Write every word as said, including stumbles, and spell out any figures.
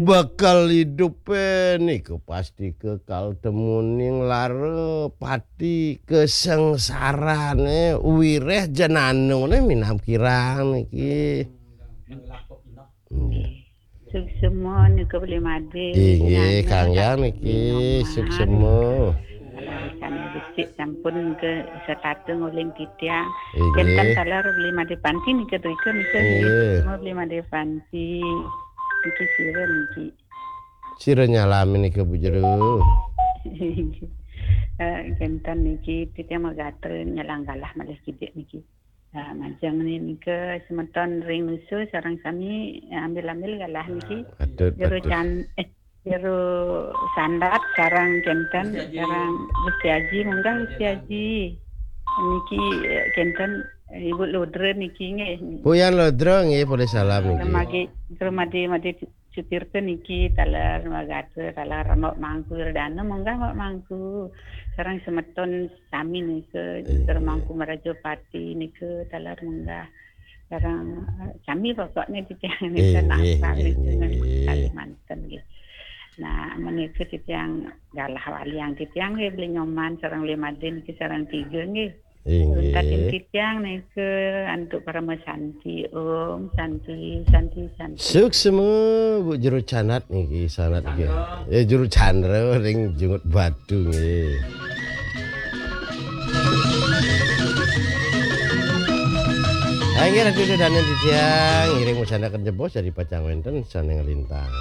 Bakal idupe niku pasti kekal temuning lara pati kesengsarane wireh jenanune minab kirang niki. Nggih. Suksma nika Beli Made. Inggih, Kang Yang niki, suksma. Sane becik sampun ke setata nguling titiang. Inggih. Kenten taler Beli Made Panti nika drika nika nggih. Inggih. Suksma Beli Made Panti. Niki sira niki. Sira nyalami nika Bu Jero. Eh, kenten niki titiang magatra nyalang galah malih kidik niki. Nah, majeng nika semeton ring nusu sareng sami ambil-ambil galah niki. Patut, Jero patut. Can eh Jero Sandat sareng kenten sareng Gusti Aji, munggah Gusti Aji. Niki eh, kenten eh, Ibu Ludra niki nggih. Puyan Ludra nggih, polih salam niki. Magi Jero Made Made Sutirta niki taler magatra taler Mbok Mangku Wirdana, munggah Mbok Mangku. Sareng semeton sami nika Jero Mangku Meraja Pati nika taler munggah. Sareng eh, sami pokoknya titiang nika nggih, nggih, nggih, nggih. Kalimantan nggih. Nah, menika titiang galah waliang titiang nggih Beli Nyoman sareng Beli Made niki sareng tiga nggih. Inggih. Untatin titiang nika antuk parama santi. Om santi, santi, santi. Suksma Bu Jero Canat niki sanat nggih. Ya Jero Chandra ring Jungut Batu nggih. Inggih Ratu Sedana titiang ngiring musanaken jebos dari pacang wenten sane nglintang.